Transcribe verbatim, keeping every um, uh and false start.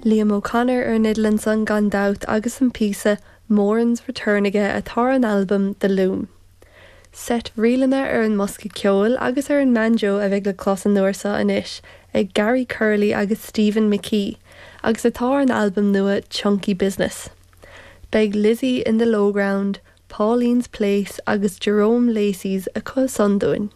Liam O'Connor ar an fhidil ansan gan dabht agus an píosa Moran's Return aige atá ar an albam The Loom. Seit ríleanna ar an mbosca ceoil agus ar an mbanjo a bheidh le clos an uair seo anois ag Gary Curley agus Stephen McKee, agus atá ar an albam nua Chunky Business. Beidh Lizzie in the Lowground, Pauline's Place agus Jerome Lacey's acu san dúinn.